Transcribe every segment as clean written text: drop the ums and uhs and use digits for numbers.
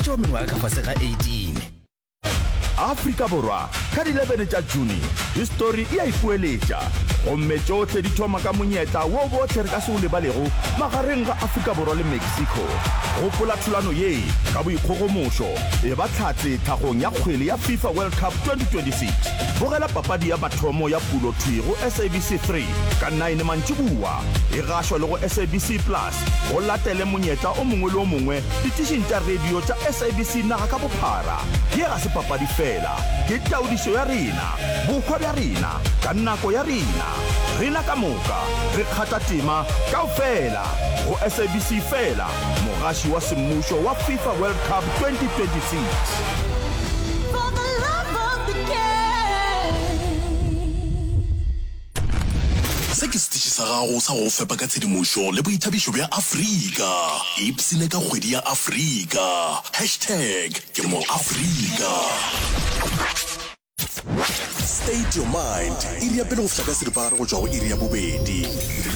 tša ba mengwaga ka fase ga 18. Afrika Borwa, ka di 11 tša June, histori e a ipoeletša, gomme tšohle di thoma ka monyetla wo bohle re ka se o lebalego magareng ga Afrika Borwa le Mexico. Gopola thulano ye ka boikgogomošo, eba hlatse tlhagong ya kgwele ya FIFA World Cup 2026. Bogela papadi ya mathomo ya pulo thwi go SABC 3 ka nine mantšiboa, e gašwa le go SABC Plus. Go latele monyetla o mongwe le o mongwe ditišing tša radio tša SABC naga ka bophara. Ye ga se papadi feela, ke taodišo ya rena, bohwa bja rena, ka nako ya rena. Rena ka moka re kgatha tema kaofela go SABC feela, mogaši wa semmušo wa FIFA World Cup 2026. For the love of the game. Se ke setiši sa gago sa go go fepa ka tshedimošo le boithabišo bja Afrika. Ipshine ka kgwedi ya Afrika. Hashtag ke mo Afrika. State your mind, iri ya pele go fihla ka seripagare go tšwa go iri ya bobedi.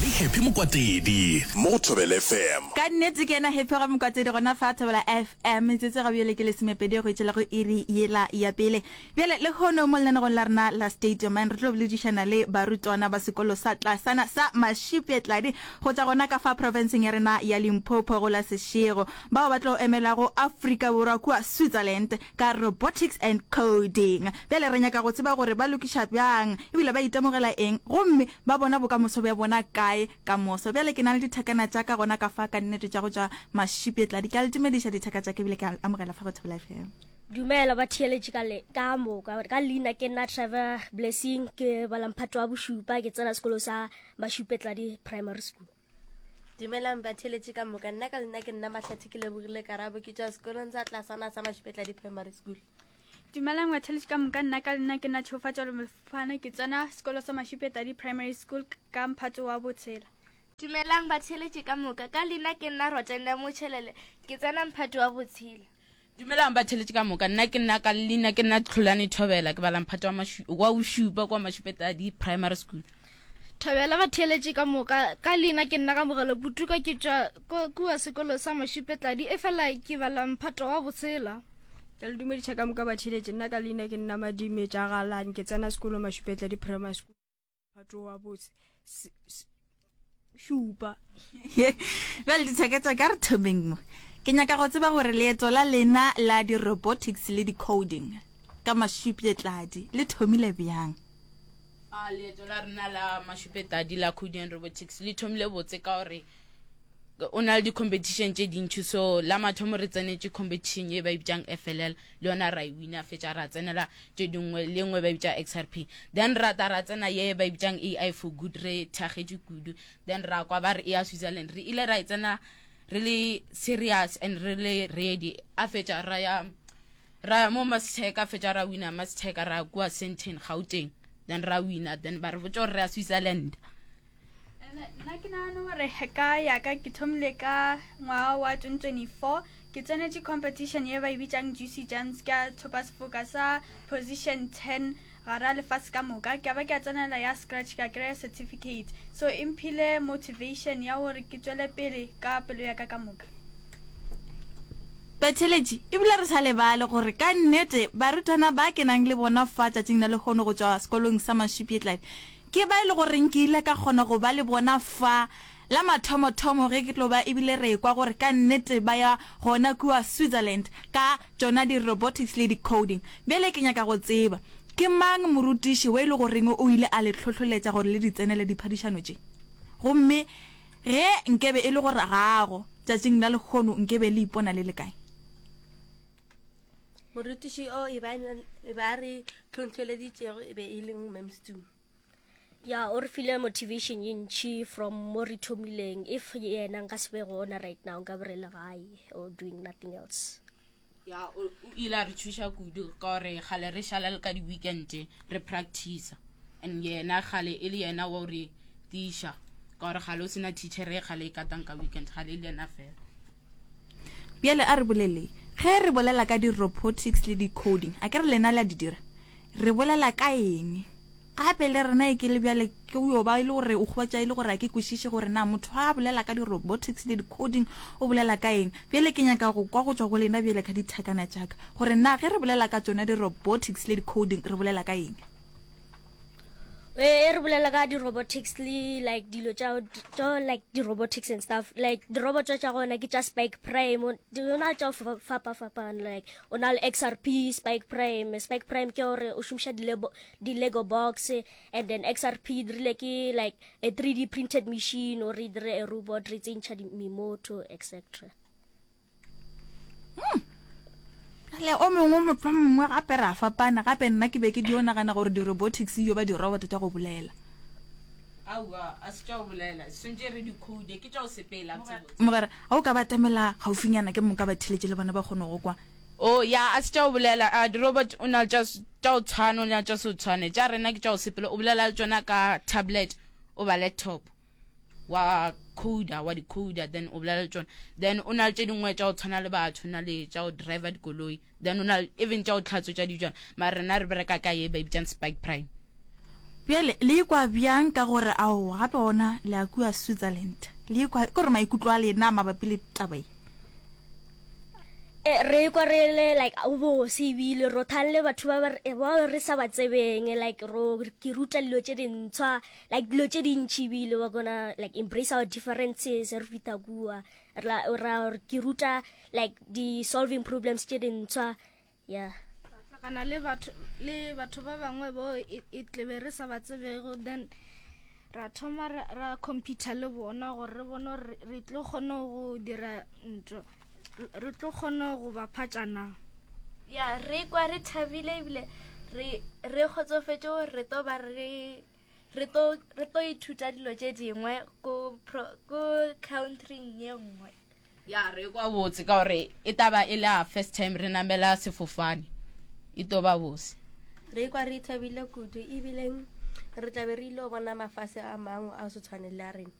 Le Happy Mokwatedi mo go Thobela FM. Ka nnete ke yena Happy ga Mokwatedi gona fa Thobela FM. Metsotso ga bjale ke lesomepedi go etšela go iri yela ya pele. Bjale, lehono mo lenanegong la rena la State Your Mind re tlo boledišana le barutwana ba sekolo sa tlasana sa Mashupjetladi go tšwa gona ka fa profenseng ya rena ya Limpopo go la Seshego, bao ba tlo emelago Afrika Borwa kua Switzerland ka Robotics and Coding. Bjale re nyaka go tseba gore ba lokiša bjang ebile ba itemogela eng gomme ba bona bokamoso bja bona kae ka moso. Bjale ke na le dithakana tša ka gona ka fa ka nnete tša go tšwa Mashupjetladi. Ke a le dumediša dithaka tša ka ebile ke a le amogela fa go Thobela FM. Dumela batheeletši ka le ka moka. Ka leina ke nna Trevor Blessing, ke bala mphato wa bošupa, ke tsena sekolo sa Mašupetladi Primary School. Dumelang batheeletši ka moka. Nna ka leina ke nna Mahlathe ke lebogile Karabo, ke tšwa sekolong sa tlasana sa Mašupetladi Primary School. Dumelang batheeletši ka moka. Nna ka leina ke nna Tšhegofatšo Mofana, ke tsena sekolo sa Mašupetladi Primary School ka mphato wa botshela. Dumelang batheeletši ka moka. Ka leina ke nna Rotenda Motšhelele, ke tsena mphato wa botshela. Dumelang batheletši ka moka, nna ke nna ka leina ke nna Tlholane Thobela, ke bala mphato wa mašu, wa bošupa kwa Mašupetadi Primary School. Thobela batheeletši ka moka, ka leina ke nna Kamogelo Putuka, ke tšwa kua sekolo sa Mašupetladi, efela ke bala mphato wa botshela. Ke le dumediša ka moka batheeletši, nna ka leina ke nna Madime Tšagalane, ke tsena sekolo Mašupetladi Primary School. Phato wa botse šupa. Bjale dithaka tša ka re thomeng mo. Ke nyaka go tseba gore leeto la lena la di-robotics le di-coding ka Mašupjetladi le thomile bjang? A leeto la rena la Mašupjetladi la coding and robotics le thomile botse ka gore o na le di-competition tše dintši so la mathomo re tsenetše competition ye ba e bitsang FLL le yona ra e wina fetša ra tsenela tše dingwe le nngwe ba e bitša XRP then ra ta ra tsena ye ba e bitsang AI for good re thagetše kudu then ra kwa ba re e ya Switzerland re ile ra e tsena re le serious and re le ready a fetša ra ya ra ya mo Mastec a fetša ra wina Mastec ra kua Sandton Gauteng then ra wina then ba re botša gore re ya Switzerland Nna ke nagana gore ka yaka ke thomile ka ngwaga wa 2024 ke tsenetše competition ye ba e bitšang Juicy Jams ke a thopa sefoka sa position 10 gara lefase ka moka ke ba ke a tsenela ya scratch ka kry-a certificate so e mphile motivation ya gore ke tswele pele ka pelo ya ka ka moka. Batheeletši, ebile re sa lebale gore ka nnete barutwana ba ke nang le bona fa tšatšing la lehono go tšwa sekolong sa Mashupjetladi Ke ba e le goreng ke ile ka kgona go ba le bona fa la mathomothomo ge ke tlo ba ebile re ekwa gore ka nnete ba ya gona kua Switzerland ka tšona di-robotics le di-coding. Bjale ke nyaka go tseba, ke mang morutiši we e le goreng o ile a le hlohloletša gore le di tsenele diphadišano tše? Gomme ge nkebe e le gore ga a go, tšatšing la lehono nkebe le ipona le le kae? Morutiši o e ba e ba re tlhohleleditšego e be e le Mem Stu. Ya o re file motivation ye ntši from mo re thomileng if yena nka se be gona right now nka be re le gae or doing nothing else. Ya o ile a re thuša kudu ka gore kgale re šala le ka di-weekend re practice and yena kgale e le yena wa re tiša ka gore kgale o sena teacher e kgale e katang ka weekend kgale e le yena fela. Bjale a re boleleng. Ge re bolela ka di-robotics le di-coding, a ke re lena le a di dira? Re bolela ka eng? Gape le rena e ke le bjale ke yo ba e le gore o hwetša e le gore a ke kwešiše gore na motho a bolela ka di-robotics le di-coding o bolela ka eng. Bjale ke nyaka go kwa go tšwa go lena bjale ka dithakana tša ka gore na ge re bolela ka tšona di-robotics le di-coding re bolela ka eng. E re bolela ka di-robotics le like dilo tša tša like di-robotics and stuff like di-robot tša gona ke tša spike prime di na tša go fapa-fapana like o na le xrp spike prime spike prime ke gore o šomiša di-lego box and then xrp e dirile ke like a 3d printed machine or e dire a robot re tsentšha memoto etc Hmm. Le o mongwe motho mongwe gape ra fapana gape nna ke be ke dio nagana gore di-robotics yo ba di-robot tša go bolela. Aowa, a se tša go bolela, swantše re di code, ke tša go sepela botsebotse. Mogwera, ga o ka ba atamela gaufinyana ke moka ba theletše le bona ba kgone go kwa. Oh, ya, a se tša go bolela. A di-robot o na le tša tša go tshwana, o na le tša se tshwane. Tša rena ke tša go sepela, o bolela le tšona ka tablet goba laptop. Wa coder, wa di coder, then o bolela le tšona. Then o na le tše dingwe tša go tshwana le batho, o na le tša go driver dikoloi, then o na le even tša go tlhatswetša dijana. Mara rena re bereka ka ye ba e bitsang Spike Prime. Bjale le ikwa bjang ka gore ao gape ona le ya kua Switzerland? Le ikwa ke gore maikutlo a lena mabapi le taba ye? E, re ikwa re le like o bose ebile ro thalle batho ba ba re sa ba tsebeng like ro ke ruta dilo tše dintshwa like dilo tše dintši ebile wa gonna like embrace our differences re fita kua ra ra ke ruta like di solving problems tše dintshwa yeah hlakana le batho le batho ba bangwe bo e, e tlebe re sa ba tsebego then ra thoma ra, ra computer le bona gore re bone gore re tlo kgona go dira ntho re tlo kgona go ba phatšana ya re kwa re thabile ebile re re kgotsofetše gore re tlo ba re re tlo re tlo ithuta dilo tše dingwe ko ko countryng ye nngwe Ya re kwa botse ka gore e taba e le a first time re namela sefofane e to ba bose. Re kwa re thabile kudu ebileng re tlabe re ile go bona mafase a mangwe a se tshwane le a rena.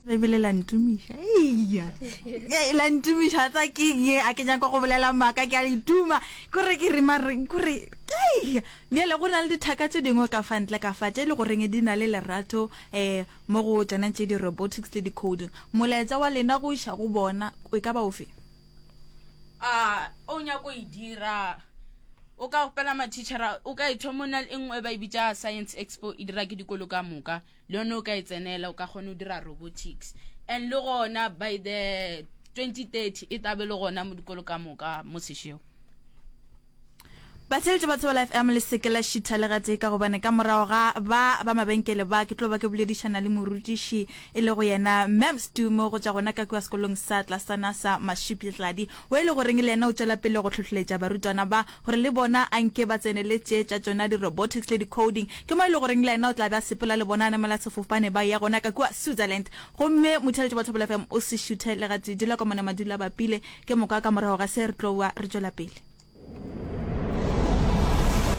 Ebile la ntumiša eya la ntumiša tsa ke ye a ke nyaka go bolela maaka ke a ituma kore ke re mare kore eya bjale go na le dithaka tše dingwe ka fa ntle ka fa tše le goreng di na le lerato um Mo go tšona tše di-robotics le di-coding, molaetša wa lena go iša go bona e ka ba ofe? A o nyako e dira o ka kgopela mathichara o ka e thoma o na le e nngwe ba e bitša science expo e dira ke dikolo ka moka le yone o ka e tsenela o ka kgona go dira robotics and le gona by the 2030 e tabe le gona mo dikolo ka moka mo sešego Batheeletši ba Thobela FM le seke la šitha le gatee ka gobane ka morago ga ba ba mabenkele ba ke tlo ba ke boledišana le morutiši e lego yena Mem Stumo go tšwa gona ka kua sekolong sa tlasana sa Mashupjetladi wo e le goreng le yena o tšwela pele go hlohleletša barutwana ba gore le bona a nke ba tsenele tše tša tšona di-robotics le di-coding ke mo e le goreng le yena o tla be a sepela le bona a namela sefofane ba ya gona ka kua Switzerland gomme motheeletši wa Thobela FM o se šuthe le gatee dula ka mona madula bapile ke moka ka morago ga se re tlo ba re tšwela pele.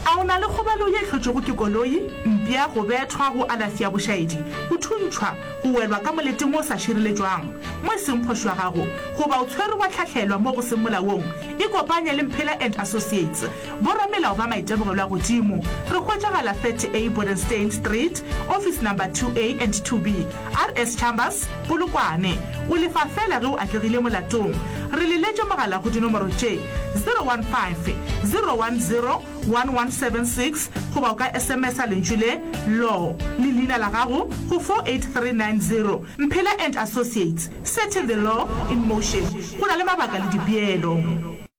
A o na le kgobalo ye e hlotšwego ke koloi, mpša, go bethwa, go alafi ya bošaedi, go thuntšhwa, go welwa ka moleteng wo o sa šireletšwang, mo e seng phošo ya gago, goba o tshwerwe wa hlahlelwa mo go seng molaong? Ikopanye le Mphela and Associates, boramelao ba maitemogelo a godimo. Re hwetšagala 30A Bodenstein Street, Office Number 2A and 2B. RS Chambers, Polokwane. O lefa feela ge o atlegile molatong. Re leletše mogala go dinomoro tše, 015 010 1176 goba o ka SMS-a lentšu le, law, le leina la gago go 48390. Mphela and Associates, setting the law in motion. Go na le mabaka le dipeelo.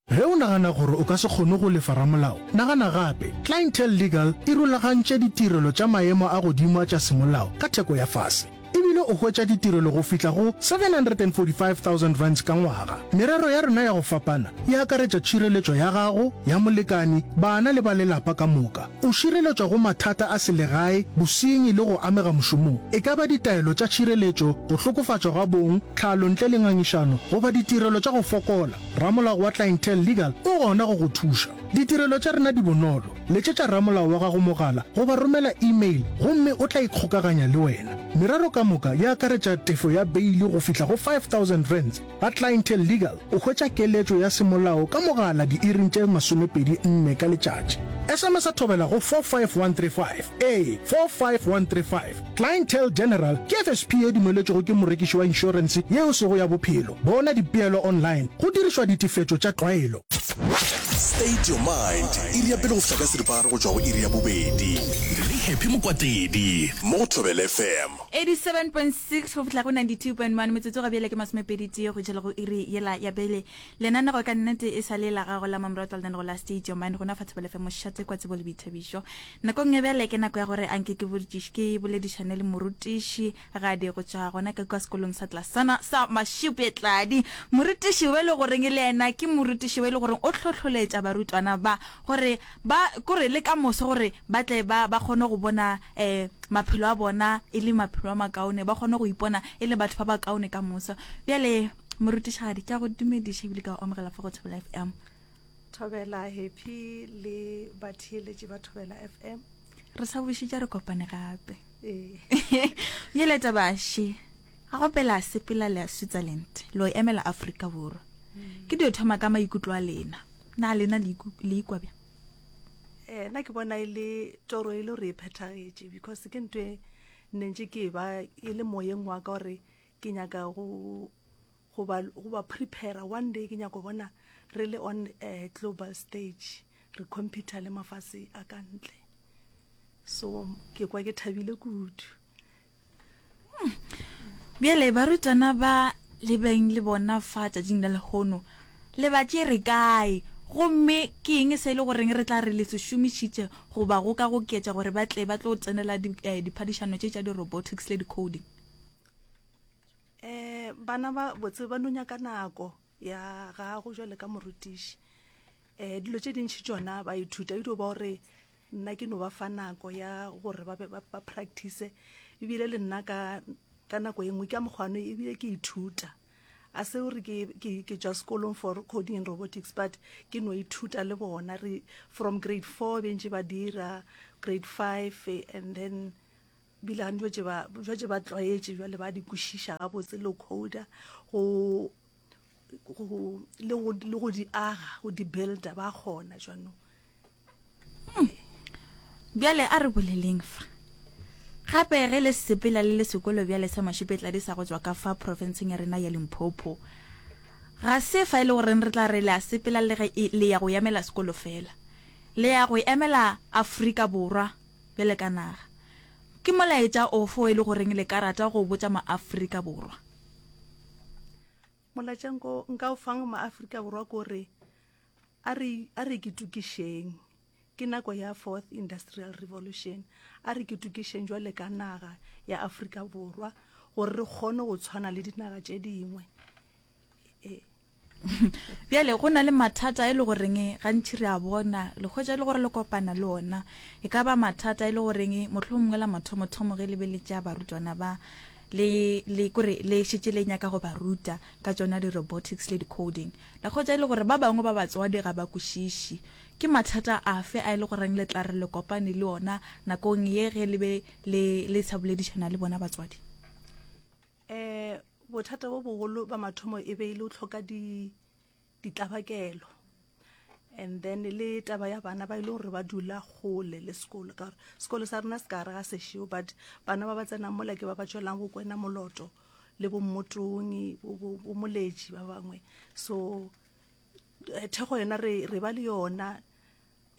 Ge o nagana gore o ka se kgone go lefa ramolao, nagana gape. Clientele Legal e rulagantše ditirelo tša maemo a godimo a tša semolao ka theko ya fase. E bile o hwetša ditirelo go fihla go R745,000 ka ngwaga. Merero ya rena ya go fapana e akaretša tšhireletšo ya gago, ya molekani, bana le ba lelapa ka moka. O šireletšwa go mathata a selegae, bosenyi le go amega mošomong, e ka ba ditaelo tša tšhireletšo, go hlokofatšwa ga bong, tlhalo ntle le ngangišano goba ditirelo tša go fokola. Ramolao wa Clientele Legal o gona go go thuša. Ditirelo tša rena di bonolo. Letšetša ramolao wa gago mogala goba romela email gomme o tla ikgokaganya le wena. Merero ka moka. moka e akaretša tefo ya beili go fihla go R5000. Ga Clientele Legal o hwetša keletšo ya semolao ka mogala diiring tše 24 ka letšatši. SMS-a thobela go 45135. Ee, 45135. Clientele General ke FSP ye dumeletšwego ke morekiši wa inšorense ye e sego ya bophelo. Bona dipeelo online go dirišwa ditefetšo tša tlwaelo. State your mind, iri ya pele go fihla ka seripagare go tšwa go iri ya bobedi. Le Happy Mokwatedi mo go Thobela FM. 87.6 go fihla go 92.1 metsotso ga bjale ke masomepedi-tee go tšhela go iri yela ya pele. Lenanego ka nnete e sa le la gago la mamoratwa lenanego la State Your Mind gona fa Thobela FM mošate kwa tsebo le boithabišo. Nakong ya bjale ke nako ya gore anke ke botšiš ke boledišane le morutiši Gadi go tšwa gona ka kua sekolong sa tlasana sa Mashupjetladi. Morutiši we le goreng le yena ke morutiši we le goreng o hlohloletša barutwana ba gore ba kore le ka moso gore ba tle ba ba kgone go bona um maphelo a bona e le maphelo a makaone, ba kgone go ipona e le batho ba bakaone ka moso. Bjale morutišigadi ke a go dumediša ebile ka go amogela fa go Thobela FM. Thobela Happy le batheeletši ba Thobela FM. Re sa bušitše re kopane gape. Ee. Bjale tabaše ga go pela sepela le ya Switzerland lo emela Afrika Borwa. Ke dio thoma ka maikutlo a lena. Na lena le ikwa bjang? Eh, nna ke bona e le toro e le gore e phethagetše because ke ntho e nne ntše ke e ba e le moyeng wa ka gore ke nyaka go go ba go ba prepare one day ke nyaka go bona re le on a global stage re compete le mafase a ka ntle so ke kwa ke thabile kudu. Bjale barutwana ba le beng le bona fa tšatšing la lehono le ba tšere kae, gomme ke eng se e le goreng re tla re le se šomišitše goba go ka goketša gore ba tle ba tlo tsenela diphadišano tše tša di-robotics le di-coding? Um bana ba botse ba no nyaka nako ya gago jwale ka morutiši. Um dilo tše dintši tšona ba ithuta e dio ba gore nna ke no ba fa nako ya gore ba be ba practice ebile le nna ka ka nako e nngwe ka mokgwano ebile ke ithuta a se gore ke ke ke tšwa sekolong for coding and robotics but ke no ithuta le bona re from grade 4 be ntše ba dira grade 5 and then bile ga ntše ba jwatše ba tlwaetše jwale ba di kwešiša gabotse le coder go go le go le go di aga go di builder ba kgona jwanong. Bjale a re boleleng fa. Gape ge le sepela le le sekolo bjale sa Mašupetladi sa go tšwa ka fa profenseng ya rena ya Limpopo, ga se fa e le goreng re tla re le a sepela le ge e, le ya go emela sekolo fela. Le ya go emela Afrika Borwa bjale ka naga. Ke molaetša ofe o e le goreng le ka rata go o botša ma-Afrika Borwa? Molaetša nko, nka o fang ma-Afrika Borwa ke gore a re, a re ketokišeng. Ke nako ya Fourth Industrial Revolution. A re ketokišeng jwale ka naga ya Afrika Borwa gore re kgone go tshwana le dinaga tše dingwe. E. Bjale go na le mathata e le goreng gantši re a bona, le hwetša e le gore le kopana le ona. E ka ba mathata e le goreng mohlomongwe la mathomothomo ge le be le tšea barutwana ba le, le kore le šetše le nyaka go ba ruta ka tšona di-robotics le di-coding. La hwetša e le gore ba bangwe ba batswadi ga ba kwešiše. Ke mathata afe a e le goreng le tla re le kopane le ona nakong ye ge le be le, le sa boledišana le bona batswadi? Um bothata bo bogolo ba mathomo e be e le go hloka di, ditlabakelo and then le taba ya bana ba e le gore ba dula kgole le sekolo ka gore sekolo sa rena se ka gare ga sešego but bana ba ba tsenang mola ke ba ba tšwelang go kwena moloto le bo mmotongi bo moletši ba bangwe so eh, thekgo yona re re ba le yona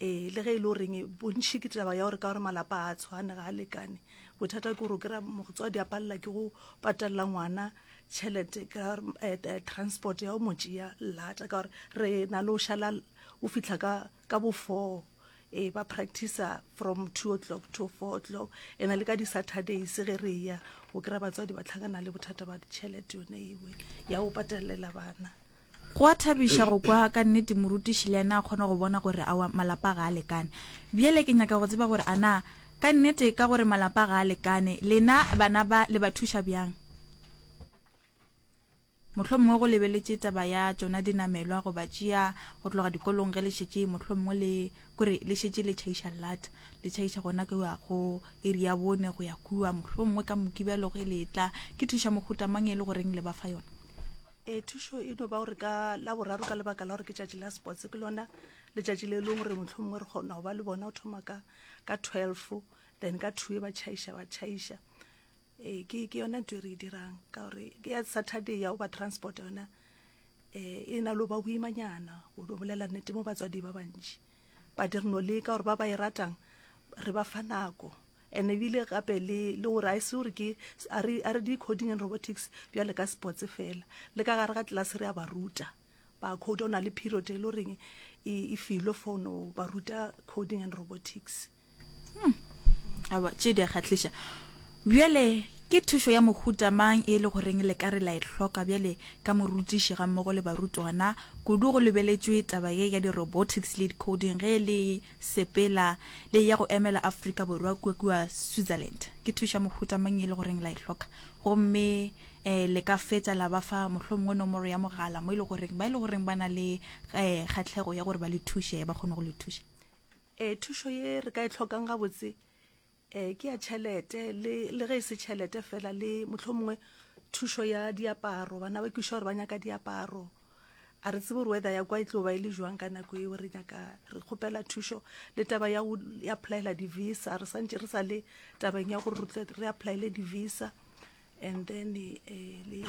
Ee, le ge e le goreng bontši ke taba ya gore ka gore malapa a tshwane ga a lekane. Bothata ke gore o kry-a motswadi a palela ke go patalela ngwana tšhelete ka eh, eh, transport ya go mo tšea lata ka gore re na le go šala o fihla ka ka bo four ee ba practicer from 2 o'clock to 4 o'clock ena le ka di-saturdays ge re ya o kry-a batswadi ba tlhakana le bothata ba ditšhelete yone ewe ya go patalela bana. Go a thabiša go kwa ka nnete morutiši le yena a kgona go bona gore aowa malapa ga a lekane. Bjale ke nyaka go tseba gore a na ka nnete ka gore malapa ga a lekane lena bana ba le ba thuša bjang? Mohlomongwe go lebeletše taba ya tšona dinamelwa go ba tšea go tloga dikolong ge le šetše mohlomongwe le kore le šetše le tšhaiša llat, le tšhaiša gona kua go iri ya bone go ya kua, mohlomongwe ka Mokibelo ge le etla. Ke thušo ya mohuta mang e le goreng le ba fa yona? Ee, thušo e no ba gore ka Laboraro ka lebaka la gore ke tšatši la sports ke lona letšatši le e leng gore mohlomongwe re kgona go ba le bona go thoma ka ka 12 then ka 2 ba tšhaiša ba tšhaiša. Ee, ke ke yona ntho e re e dirang ka gore ke ya Saturday ya go ba transport yona um e na le go ba boimanyana go no bolela nnete mo batswadi ba bantši but re no leka gore ba ba e ratang re ba fa nako and ebile gape le le gore a e se gore ke a re a re di coding and robotics bjale ka sports fela le ka gare ga class re a ba ruta ba code o na le period e le goreng e e filwe for no ba ruta coding and robotics. Hmm. Aowa, tše di a kgahliša. Bjale, ke thušo ya mohuta mang e le goreng le ka re la e hloka bjale ka morutiši gammogo le barutwana, kudu go lebeletšwe taba ye ya di-robotics le di-coding ge le sepela le ya go emela Afrika Borwa kua kua Switzerland? Ke thušo ya mohuta mang e le goreng la e hloka? Gomme um le ka fetša la ba fa mohlomongwe nomoro ya mogala mo e le goreng ba e le goreng ba na le um kgahlego ya gore ba le thuše ba kgone go le thuša. Ee, thušo ye re ka e hlokang gabotse um ke ya tšhelete le le ge e se tšhelete fela le mohlomongwe thušo ya diaparo. Bana ba kwešiša gore ba nyaka diaparo, a re tsebe gore weather ya kwa e tlo ba e le jwang ka nako eo. Re nyaka re kgopela thušo le taba ya go applyela di-visa, re santše re sa le tabeng ya gore re tle re applyele di-visa and then eh, le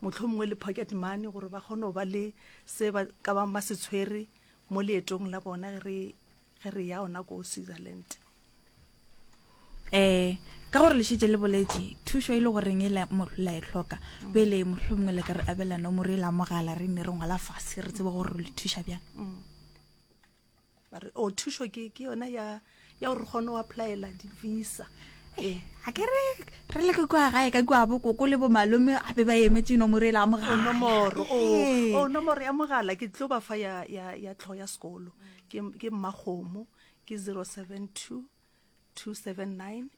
mohlomongwe le pocket money gore ba kgone go ba le se ba ka bang ba se tshwere mo leetong la bona ge re ge re ya ona ko Switzerland. Eh, ka gore le šetše le boletše thušo e le goreng e la la e hloka mm. pele mohlomongwe le ka re abela nomoro e la mogala re ne re ngwala fase re tsebe gore le thuša bjang mm. Ba re o thušo ke ke yona ya ya gore re kgone go applyela di-visa. Ee, a ke re re le ke kua gae ka kua bo koko le bo malome gape ba emetše nomoro e la mogala. Nomoro, o, o nomoro ya mogala ke tlo ba fa ya ya ya tlhogo ya sekolo. Ke ke Mmakgomo ke 072 279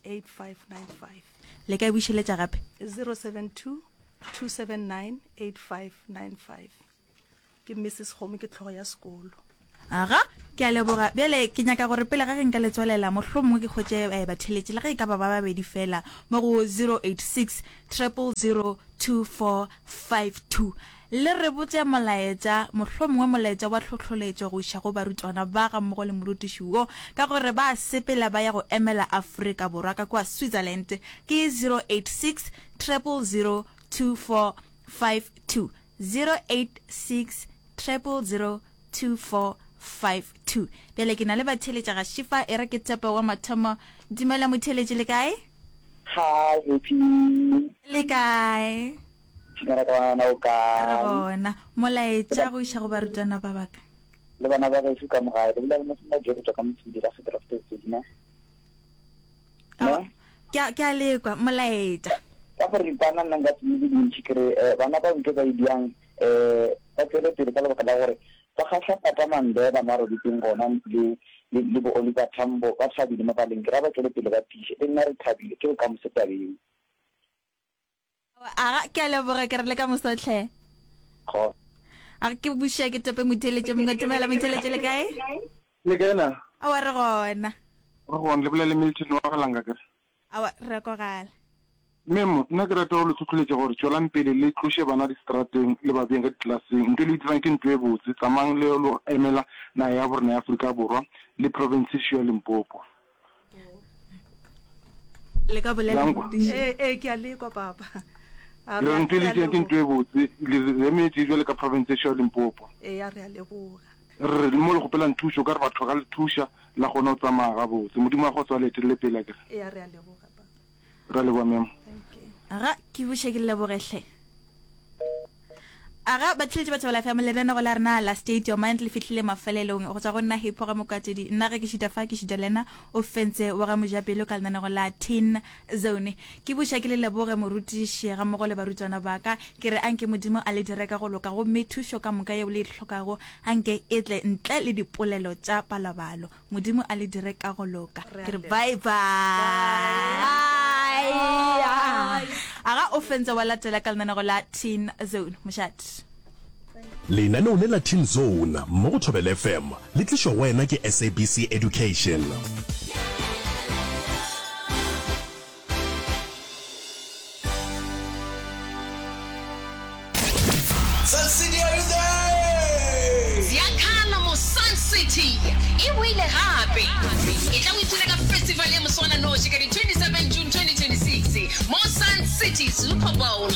8595. Le ka e bušeletša gape? 072 279 8595. Ke Mrs Kgomo, ke hlogo ya sekolo. Aga, ke a leboga. Bjale ke nyaka gore pele ga ge nka le tswalela, mohlomongwe ke hwetše eh, batheeletši le ge e ka ba ba babedi fela mo go 086 000 2452. Le re botše molaetša, mohlomongwe molaetša wa tlhohloletšo go iša go barutwana ba gammogo le morutiši wo, ka gore ba a sepela ba ya go emela Afrika Borwa ka kua Switzerland. Ke 086 000 2452. 086 000 2452. Bjale ke na le batheeletša ga Šifa, e re ke tshepe wa mathomo. Dumela motheeletši, le kae? Hi, Happy. Le kae? Dumela ka ngwana o kae? Re gona. Molaetša go iša go barutwana ba baka. Le bana ba gešo ka mo gae. Le bolela le Mosima Joe go tšwa ka Mosidi la Gedrafte Sedina. Ne? Ke a, ke a lekwa, molaetša. Ka go ripana nna nka se di dintši ke re eh, bana ba ntho ba e diang eh, ba tswele pele ka lebaka la gore ba kgahla Papa Mandela mo a robetseng gona le, le, le bo Oliver Tambo ba thabile mo baleng ke ra ba tswele pele ba tiiše le nna re thabile ke bokamoso tabeng. Aga, ke a leboga, ke re le ka moso hle. Kgo. A ke buša ke tope motheeletše mongwe. Dumela motheeletše le kae? Le kae na? Aowa re gona. Re gona, le bolela le Milton wa Galanga kere. Aowa re a kwagala. Memo, nna ke rata go le hlohloletša gore tšwelang pele le tloše bana diseterateng le ba beeng ka diklaseng. Ntho e le e dirang ke ntho e botse. Tsamayang le yo emela naga ya borena ya Afrika Borwa le profense ya Limpopo. Le ka bolela La nkwa? morutiši. Ee, ee, ke a lekwa papa. A Le re re a ntho e re le a dirang ke ntho leboga. e botse. Le re emetše bjale ka profense ya Limpopo. Ee, a re a leboga. Re re mo le kgopelang thušo, ka re batho ba ka le thuša la kgona go tsamaya gabotse. Modimo wa kgotso a le etelele pele akere. Ee, a re a leboga papa. Re a leboga memo. Thank you. Aga, ke buše ke leboge hle. Aga, batheeletši ba Thobela FM, lenanego la rena la State Your Mind le fihlile mafelelong. Go tšwa go nna Hipho ga Mokatedi, nna ge ke šita fa ke šita le yena o fentse wa ga Mojapelo ka lenanego la Teen Zone. Ke buša ke le leboge morutiši gammogo le barutwana ba ka, ke re anke Modimo a le dire ka go loka gomme thušo ka moka yeo le e hlokago anke e tle ntle le dipolelo tša palabalo. Modimo a le dire ka go loka. Ke re bye bye. Bye. Aga o fentse wa latela ka lenanego la Teen Zone. Mošate. Lenaneo le la Teen Zone mo go Thobela FM le tlišwa go wena ke SABC Education. Sun City, are you there? Ziyakhala mo Sun City e boile gape. Etla o ipshine ka festival ya moswananoši ka di 27 June 2026 mo Sun City Super Bowl.